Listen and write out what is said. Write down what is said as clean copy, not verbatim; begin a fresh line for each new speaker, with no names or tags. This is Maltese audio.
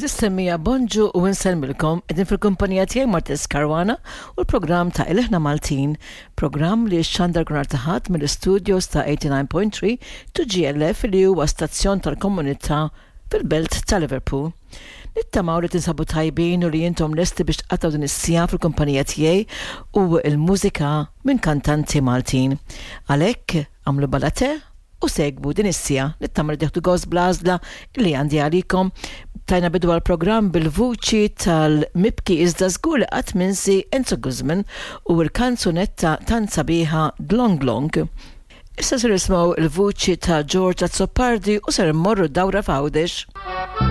Għeżież semmiegħa bonġu u insellmilkom, qegħdin fil-kumpanija tiegħi Martez Caruana u l-programm ta' Ilħna Maltin, programm li xxandar kull nhar ta' Ħadd mill-istudios ta' 89.3 2GLF li huwa stazzjon tal-komunità fil-belt ta' Liverpool. Nittamaw li tinsabu tajbin u li intom lesti biex tqattgħu din is-siegħa fil-kumpanija tiegħi u l-mużika minn kantanti Maltin. Għalhekk, agħmlu bala te u segwu din is-siegħa. Nittama li tieħdu gost bl-għażla li għandi għalikom. Tajna bidu għall-programm bil-vuċi tal-mibki iżda żgur li qatt minsi Enzo Guzman u l-kanzunetta tant sabiħa Dlong Dlong. Issa ser nisimgħu l-vuċi ta' George Azzopardi u ser immorru dawra f'Għawdex.